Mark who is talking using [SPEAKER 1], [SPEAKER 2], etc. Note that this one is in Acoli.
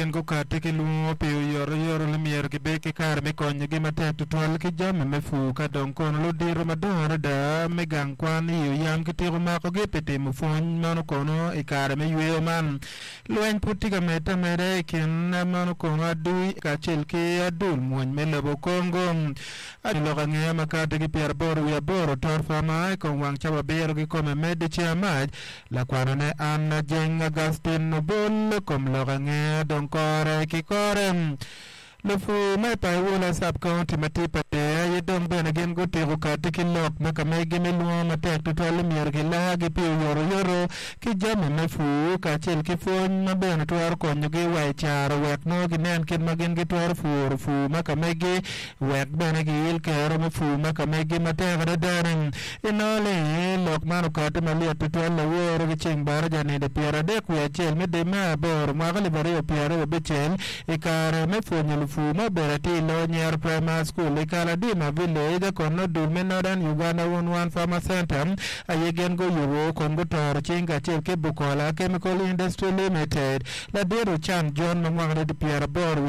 [SPEAKER 1] Gin gukatti ki lwongo pi oyotoyot ni myero gibed ki kare me konyogi matek tutwal ki jami me pur. Ka dong kono ludito madongo adada me gang kwan i oyam kitiko makogi pi timo pwony meno kono i kare me yweyo man. Lweny pud tye ka medde ameda i kin meno kono adui kacel ki adul mwony me lobo Congo. I lok angeya ma kati ki pyeraboro wiye aboro Tot Farmer i kom wang cawa abiro kikome medde ceng amac. Lakwanone Anna Jeng Augustine Obol kom lok angeya dong kore ki kore. Lupur ma i Paiwula Sub-County ma tye pa Deya aye dong bene gin gutiko kati ki lok ma ka megi me lwongo matek tutwal ni myero gilargi pi oyotoyoto ki jami me pur kacel ki pwony ma bene twero konyogi wa i caro wek nongo ginen kit ma gin gitwero puro pur ma ka megi wek bene giil kero me pur ma ka megi matek adada-ni. Inongo ni lok man okatti malyet tutwal laworo ki ceng baraja nino pyeradek wiye acel me dwe me aboro mwaka alip aryo pyeraryo abicel i kare me pwonyo lupur ma obedo atir i loyo Nyero Primary School i Kaladima Village kun nongo dul me Northern Uganda One Farmer Center aye gin guyubo kun gutoro cing kacel ki Bukola Chemical Industry Limited. Ladit Ochan John ma mwakane tye pyeraboro wiye.